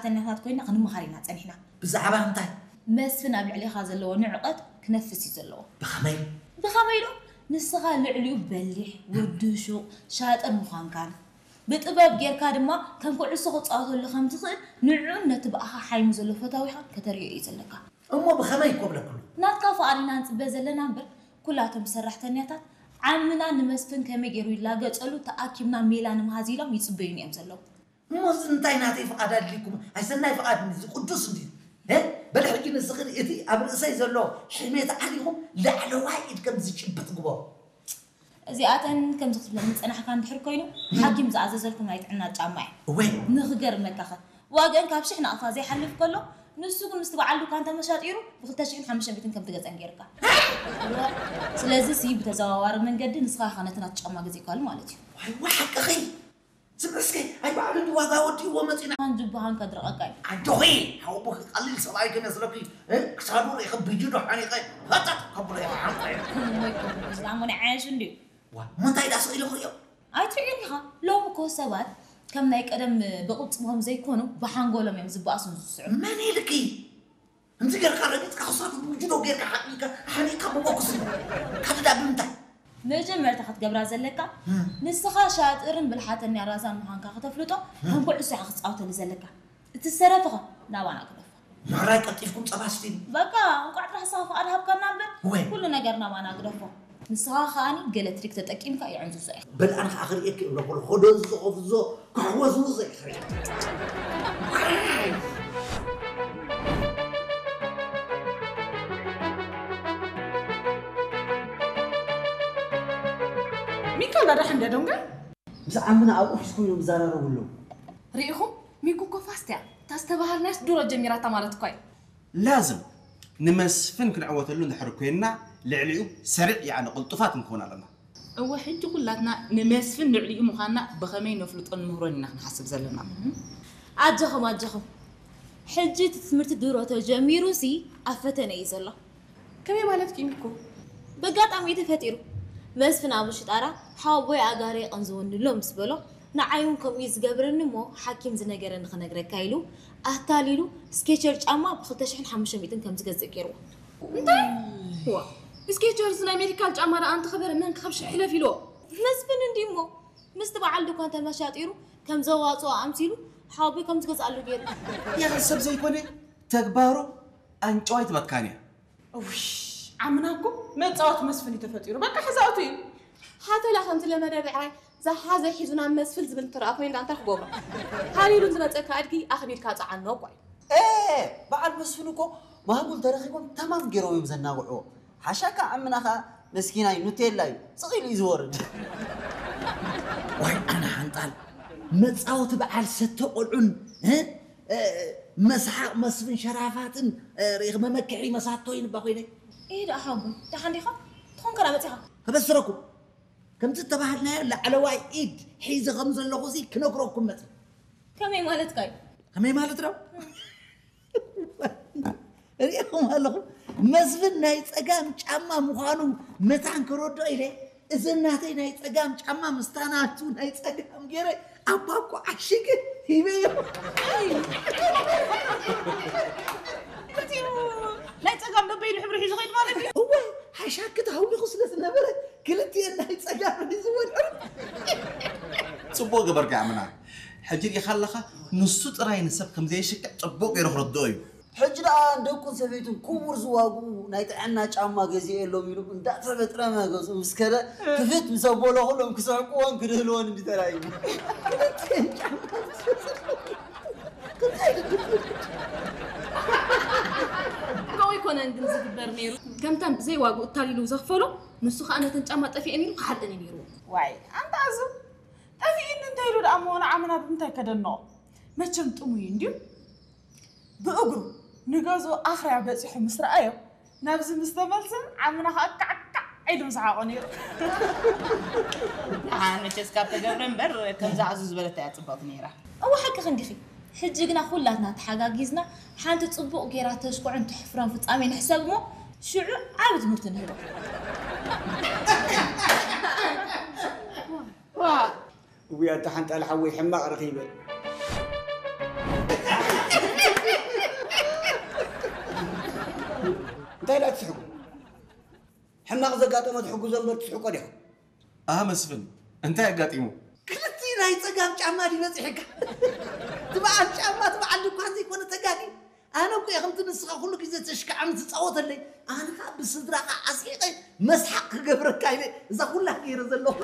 ሰራሕተኛታት ኮይና ክንመሃር ኢና ጸኒሕና። ብዛዕባ እንታይ? መስፍን ኣብ ልዕሌኻ ዘለዎ ንዕቐት ክነፍስ እዩ ዘለዎ። ብኸመይ? ብኸመይ ዶ? ንስኻ ልዕሊኡ በሊሕ፣ ወዲ ሹቕ፣ ሻጥር ምዃንካን፣ ብጥበብ ጌርካ ድማ ከም ኩዕሶ ክጻወተሉ ከም ትኽእል ንዕኡን ነቲ ብኣኻ ሓይሙ ዘሎ ፈታዊኻን ከተርእዮ እዩ ዘለካ። እሞ ብኸመይ እኮ ብለክሉ? ናትካ ፍቓድ ኢና ንጽበ ዘለና እምበር፣ ኩላቶም ሰራሕተኛታት ዓምና ንመስፍን ከመይ ገይሩ ይላገጸሉ ተኣኪብና ሜላ ንምሃዝ ኢሎም ይጽበዩኒ እዮም ዘለዉ። እሞ እዚ እንታይ ናተይ ፍቓድ ኣድልይኩም? ኣይሰናይ ፍቓድ እዚ ቅዱስ እንድዩ። እ? በል ሕጂ ንስኽን እቲ ኣብ ርእሰይ ዘሎ ሕሜት ዓሊኹም ላዕለዋይ ኢድ ከም ዝጭብጥ ግበሩ። እዚኣተን ከምዚ ክትብለኒ ዝጸናሕካ እንድሕር ኮይኑ፣ ሓኪም ዝኣዘዘልኩም ናይ ጥዕና ጫማ እየ። እወ። ንኽገርመካኸ፣ ዋግአን ካብ ሽሕ ናቕፋ ዘይሓልፍ ከሎ፣ ንሱ ግን ምስቲ በዓል ዱካ እንተመሻጢሩ፣ ብኽልተ ሽሕን ሓሙሽተ ሚእትን ከም ትገዝአን ገይርካ። ስለዚ ሲ ብተዘዋዋሪ መንገዲ ንስኻ ኢኻ ነቲ ናቱ ጫማ ገዚእካሉ ማለት እዩ። ዋይ፣ ዋይ፣ ሓቅኺ። ስምዒ እስከ፣ ኣይ ባዕሉ እንዲ ዋጋ ወዲእዎ መጺና። ኣን ጅብሃን ከድርቐካ እዩ። ኣጆኺ፣ ሓወቦኺ ቀሊል ሰብኣይ ከመስለኪ፣ እ፣ ክሳዱ ርኢኺ ብጅዶ ሓኒቐ፣ ፈጠጥ ከብሎ እየ፣ ሓንቆ እየ። እሞ ይከብድ፣ ዝኣመነ ዓያሹ እንድዩ። ዋ፣ እሞ እንታይ ዳስ ኢሉ ክርእዮ? ኣይትርእዮን ኢኻ። ሎሚ እኮ ሰባት ከም ናይ ቀደም ብቕልጽሞም ዘይኮኑ፣ ብሓንጎሎም እዮም ዝበኣሱን ዝስዕሩ። መን ኢልኪ? ከምዚ ጌርካ ረጊጽካ ክሳዱ ብውጅዶ ጌርካ ሓቂካ ሓኒካ ብቦክስ ካትዳ ብምንታይ? መጀመርታ ክትገብራ ዘለካ፣ እም። ንስኻ ሻጥርን ብልሓተኛ ራዛን ምዃንካ ከተፍልጦ፣ እም። ከም ኩዕሶ ኢኻ ክትጻወተሉ ዘለካ። እቲ ዝተረፈኸ ናባና ግደፎ። ምሕራይ ቀልጢፍኩም ጸባ ስትዩ። በቃ፣ እንቋዕ ጥራሕ ንስኻ ፍቓድ ሃብካና እምበር፣ ወይ። ኩሉ ነገር ናባና ግደፎ። ንስኻ ከኣኒ ገለ ትሪክ ተጠቂምካ የዕንዝዞ ኢኻ። በል ኣነ ኸኣ ክርእየኪ እብሎ፣ ኩሉ ኾዶ ዝኸፍዞ ክሕወዝውዞ ይኽእል። ሚካ እንዳዳሕ እንደ ዶንጋ? ምስ ዓምና ኣብኡ ሒዝ ኮይኖም ይዛራረቡ ኣለዉ። ርኢኹም? ሚጉ እኮ ፋስት እያ። እታ ዝተባሃልናስ ድሮ ጀሚራታ ማለት እኳ እዩ። ላዝም ንመስፍን ክንዕወተሉ እንድሕር ኮይንና ልዕሊኡ ሰሪዕ፣ ያዕኒ ቅልጡፋት ክንከውን ኣለና። እወ፣ ሕጂ ኩላትና ንመስፍን ልዕሊኡ ምዃንና ብኸመይ ነፍልጦን ንምህሮን ኢና ክንሓስብ ዘለና። ኣጆኹም፣ ኣጆኹም። ሕጂ እቲ ትምህርቲ ድሮ ተጀሚሩ ሲ ኣብ ፈተነ እዩ ዘሎ። ከመይ ማለት ኪን እኮ? በጋጣሚ እዩ ተፈጢሩ። መስፍን ኣብ ሽጣራ ሓወቦይ ኣጋሪ የቐንዝወኒ ኣሎ ምስ በሎ፣ ንዓይ እውን ከምኡ እዩ ዝገብረኒ እሞ ሓኪም ዝነገረኒ ክነግረካ ኢሉ ኣታሊሉ ስኬቸር ጫማ ብ ክልተ ሽሕን ሓሙሽተ ሚእትን ከም ዝገዝእ ገይርዎ። እንታይ? ዋ፣ ስኬቸርስ ናይ ሜዲካል ጫማ ደኣ እንተኸበረ መን ካብ ሽሕ ሕለፍ ኢልዎ? መስፍን እንድዩ እሞ ምስቲ በዓል ድኳን ተመሻጢሩ ከም ዘዋፅኦ ኣምሲሉ ሓወቦይ ከም ዝገዝኣሉ ገይሩ። ያኽል ሰብ ዘይኮነ ተግባሩ ኣንጨዋይ ትበካን እያ። እውይ፣ ዓምና እኮ መጻወቲ መስፍን እዩ ተፈጢሩ። በቃ ሕዛውቲ እዩ። ሓተላ ከምቲ ለመደ ብዕራይ ዝሓዘ ሒዙ ናብ መስፍን ዝብል እንትረኣ ኮይኑ ዳኣ እንታይ ክገብሮ? ሃሊሉ ዝመጸካ ኣድጊ ኣኽቢርካ ጸዓኖ እኮ እዩ። ኤ፣ በዓል መስፍን እኮ ማህቡል ተረኺቦም ተማም ገይሮም እዮም ዘናግዕዎ። ሓሻካ ዓምና ኸኣ መስኪናይ ኑቴላ እዩ። ስቕ ኢሉ እዩ ዝወርድ። ዋይ ኣነ ሓንጣል መጻወቲ በዓል ሰተ ቆልዑን፣ እ? እ፣ መስሓቕ መስፍን ሸራፋትን፣ እ፣ ርኢኺ መመክሒ መሳቶ ይንባ ኮይነ። እይ ደኣ ሓወቦይ፣ ደሓን ዲኻ? ትኾን ከዳ መጺኻ? ከበስረኩም። ከምዚ እተባህልናዮ ላዕለዋይ ኢድ ሒዘ ከም ዘለኹ ሲ ክነግረኩም መጺ። ከመይ ማለትካ እዩ? ከመይ ማለት ነው? ሪኢኹም ኣለኹም? መስፍን ናይ ጸጋም ጫማ ምዃኑ መታን ክረድኦ ኢለ፣ እዚ ናተይ ናይ ጸጋም ጫማ ምስታ ናቱ ናይ ጸጋም ገይረ ኣብ ባኮ ዓሺገ ሂበዮ። እቲኡ ናይ ጸጋም ዶ በይኑ ሕብሪ ሒዙ ኸይዱ ማለት እዩ? እወ፣ ሓሻክ ተሃዊኹ ስለ ዝነበረ፣ ክልቲኤን ናይ ጸጋም ሒዝወን። ጽቡቕ ገበርካ ኣምና። ሕጂ ርኢኻ ኣለኻ፣ ንሱ ጥራይ ንሰብ ከም ዘይሽክዕ ጽቡቕ ገይሩ ክረድኦ እዩ። ሕጂ ደኣ ንደቁን ሰበይቱን ክቡር ዝዋግኡ ናይ ጥዕና ጫማ ገዚኤሎም ኢሉ እንዳተበጥረመ ገዝኡ ምስ ከደ፣ ክፍት ምስ ኣበሎ ኩሎም ክስሕቅዎን ክድህልዎን እንዲ ተራእዩ። ከምኡ ኣይኮነን ግን ዝግበር ነይሩ። ከምተን ብዘይ ዋግኡ እታሊሉ ዘኽፈሎ፣ ንሱ ኸኣ ነተን ጫማ ጠፊኤን ኢሉ ክሓልጠን እዩ ነይርዎ። ዋይ፣ ኣንታ ኣዙ፣ ጠፊእኒ እንተ ኢሉ ደኣ እሞ ንዓምና ብምንታይ ከደንቖ? መቸም ጥሙይ እንድዩ። ብእግሩ ንገዝኡ ኣኽርያ በጺሑ ምስ ረኣዮ፣ ናብዚ ምስ ተመልሰ ዓምና ኸኣ ካዕካዕ ኢሉ ምሰሓቖ ነይሩ። ደሓን መቸስ ካብ ተገብረ እምበር፣ ከምዛ ኣዙ ዝበለታ እያ ጽብቕቲ ነይራ። እወ ሓቅኺ እንዲኺ። ሕጂ ግና ኩላትና ተሓጋጊዝና ሓንቲ ጽቡቕ ጌራ ተሽኩዕን ተሕፍሮን ፍጻሜ ንሕሰብ እሞ ሽዑ ዓቢ ትምህርቲ ንህቦ። ዋ! እውይ ኣታ ሓንጣል ሓወይ ሕማቕ ረኺበ። እሞ ትሕግዞ እምበር ትስሕቆ ዲኻ? ኣህ መስፍን፣ እንታይ ኣጋጢሙ? ክልቲ ናይ ጸጋም ጫማ ድዩ በጺሕካ? ትበዓል ጫማ ትበዓል ድኳን ዘይኮነ ተጋጊ። ኣነ እኮ እየ ከምቲ ንስኻ ኩሉ ግዜ ተሽካዕም ትጻወተለይ። ኣነ ኸኣ ብስድራኻ ኣስሒቐ መስሓቕ ክገብረካ ኢለ እዛ ኩላ ገይረ ዘለኹ።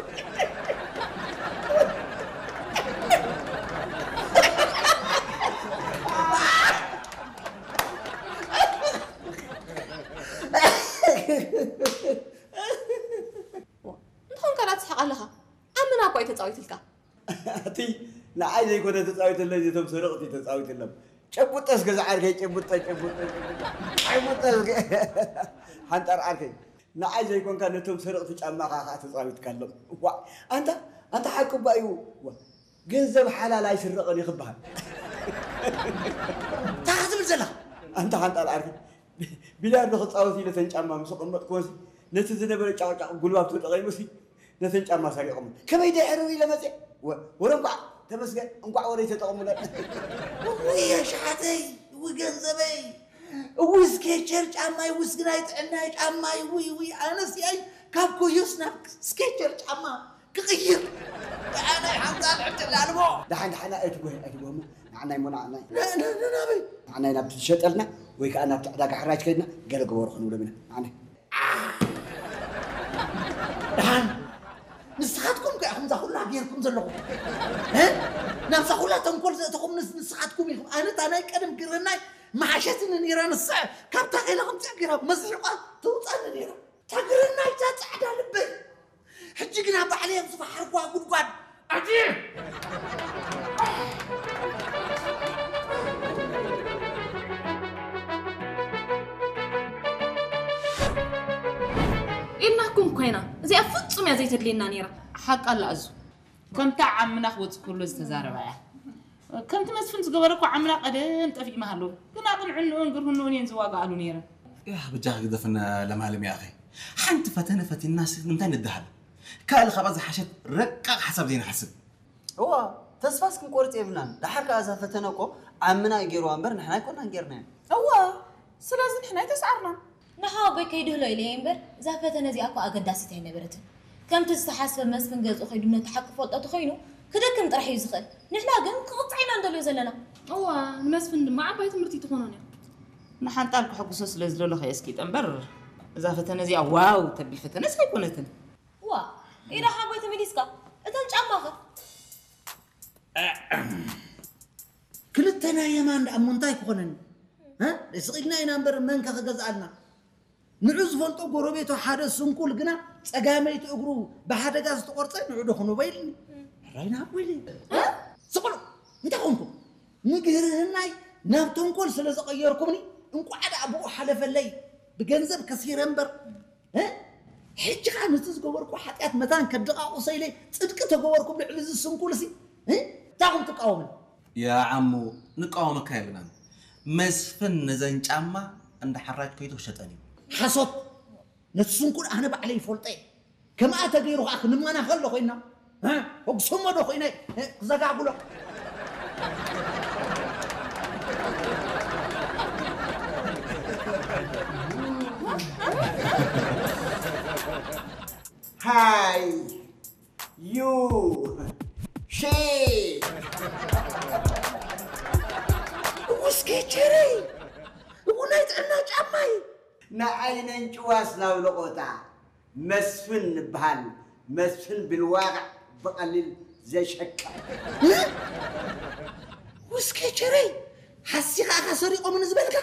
እንተኾንካ ዳትስሕቕ ኣለኻ? ኣመና እኮ እዩ ተጻዊትልካ። እቲ ንዓይ ዘይኮነ ተጻዊትለይ፣ ነቶም ሰረቕቲ ተጻዊትሎም። ጨቡጠ እስከ ዝዓርከይ፣ ጨቡጠ፣ ጨቡጠ፣ ጨቡጠ። ጨቡጠ እስከ። ሓንጣር ዓርከይ። ንዓይ ዘይኮንካ ነቶም ሰረቕቲ ጫማኻ ኸዓ ተጻዊትካሎም። ዋ፣ ኣንታ፣ ኣንታ ሓቂ እባ እዩ። ዋ፣ ገንዘብ ሓላል ኣይስረቕን እዩ ክበሃል። እንታይ ክትብል ዘለኻ? ኣንታ ሓንጣር ዓርከይ። ቢልያርዶ ክጻወት ኢለ እተን ጫማ ምስ ኣቐመጥክወን፣ ነቲ ዝነበረ ጫቕጫቕ ጉልባብ ተጠቒሙሲ፣ ነተን ጫማ ሰሪቖም። ከመይ ድሕር ኢለ መጽየ? ወ-፣ ወረ እንቋዕ ተመስገን፣ እንቋዕ ወረይ ተጠቐሙለን። እውይ ኣሽሓተይ፣ እውይ ገንዘበይ፣ እውይ ስኬቸር ጫማይ፣ እውይ ስግናይ ጥዕናይ ጫማይ፣ እውይ፣ እውይ ኣነስ ያይ ካብ ኮዮስ ናብ ስኬቸር ጫማ ክቕይር። ኣነ ሓንታ ልዕድል ኣልቦ። ደሓን፣ ደሓን፣ ኣይትጎህ፣ ኣይትጎህ እሞ። ንዓናይ እሞ፣ ንዓናይ። ን-፣ ን-፣ ንናበይ? ንዓናይ ናብቲ ዝሸጠልና ወይ ከዓ ናብቲ ዕዳጋ ሕራጅ ከይድና ገለ ግበሩ ክንብሎም ኢና። ንዓናይ። ደሓን። ንስኻትኩም ከ ኢኹም እዛ ኩላ ጌርኩም ዘለኹም። እ? ናብዛ ኩላ ተንኮል ዘእተኹም ንስ-፣ ንስኻትኩም ኢኹም። ኣነ እታ ናይ ቀደም ግርህናይ መሓሸትኒ ነይራ ንስዐ። ካብታ ከይላ ከምፅኣ ገይራ መስሒቋ ተውፃኒ ነይራ። እታ ግርህናይ እታ ፃዕዳ ልበይ። ሕጂ ግና ባዕለይ ኣብ ዝፈሓርኩዋ ጉድጓድ ኣትየ። ኢልናኩም እኮ ኢና፣ እዚኣ ፍጹም እያ ዘይተድልየና ነይራ። ሓቃ ኣላ ኣዙ። ከምታ ዓምና ክወጽእ ከሎ ዝተዛረባ እያ። ከምቲ መስፍን ዝገበረ እኮ ዓምና ቀደም ጠፊእ ምሃለዉ። ግን ኣቕንዕንኡን ግርህንኡን እየን ዝዋግኣሉ ነይረን። ያህ በጃኺ ግደፍና ለማለም ያኺ። ሓንቲ ፈተነ ፈቲንናስ ንምንታይ ንደሃል? ካልእ ካብኣ ዝሓሸት ረቃቕ ሓሳብ ዘይንሓስብ። እዋ፣ ተስፋስ ክንቆርጽ የብልናን። ደሓር ከኣ እዛ ፈተነ እኮ ዓምና እዩ ገይርዋ እምበር ንሕና ኣይኮናን ገይርናያ። እዋ፣ ስለዚ ንሕና ኣይተስዓርናን። ንሓወቦይ ከይድህሎ ኢለየ እምበር፣ እዛ ፈተነ እዚኣ እኮ ኣገዳሲት ኣይነበረትን። ከምቲ ዝተሓስበ መስፍን ገዝኡ ከይዱ ነቲ ሓቂ ክፈልጦ ተኾይኑ፣ ክደክም ጥራሕ እዩ ዝኽእል። ንሕና ግን ክቕጻዕ ኢና እንደልዮ ዘለና። እዋ፣ ንመስፍን ድማ ዓባይ ትምህርቲ ትኾኖን እያ። ንሓንጣል ክሕጉሶ ስለ ዝደለኹ እየ እስኪ ጠንበር። እዛ ፈተነ እዚኣ ዋው ተብል ፈተነስ ኣይኮነትን። ዋ፣ ኢዳ ሓጎይ ተመሊስካ። እተን ጫማኸ? ክልተ ናይ የማን ደኣ እሞ እንታይ ክኾነኒ? እ? ስቕ ኢልና ኢና እምበር መን ከ ክገዝኣልና? ንዑ ዝፈልጦ ጎረቤቱ ሓደ ስንኩል ግና ጸጋመይቲ እግሩ ብሓደጋ ዝተቖርጸ ንዑ ዶ ክንቦ ኢልኒ። ሕራይ ንሃቦ ኢለ። እ? ስቕ በሉ። እንታይ ኮንኩም? ንግርህናይ ናብ ተንኮል ስለ ዘቐየርኩምኒ እንቋዕ ደኣ ብኡ ሓለፈለይ። ብገንዘብ ከሲረ እምበር እ? ሕጂ ኸኣ ነቲ ዝገበርኩ ሓጢኣት መታን ከደቓቑሶ ኢለ ጽድቂ ተገበርኩም ልዕሊ እዚ ስንኩልሲ፣ እ? እንታይ ኢኹም ትቃወሙኒ? ያ ዓሙ፣ ንቃወመካ የብልናን። መስፍን ነዘን ጫማ እንዳ ሓራጅ ከይዱ ክሸጠን እዩ። ሓሶት! ነቲ ስንኩል ኣነ ባዕለይ ይፈልጦ እየ። ከምኣ ተገይሩ ኸኣ ክንመና ከሎ ኮይና፣ እ? ሕጉሶሞ ዶ ኮይነ፣ እ? ክዘጋግሎ። ሃይ ዩ ሺ እውይ ስኬቸረይ፣ እው ናይ ጥዕና ጫማይ። ንዓይ ነንጭዋስ ናብ ለቖታ መስፍን ንበሃል፣ መስፍን ብልዋጋዕ ብቐሊል ዘሸቅዕ። እ? ውይ ስኬቸረይ፣ ሓሲኻ ኢኻ ሰሪቖምኒ ዝበልካ?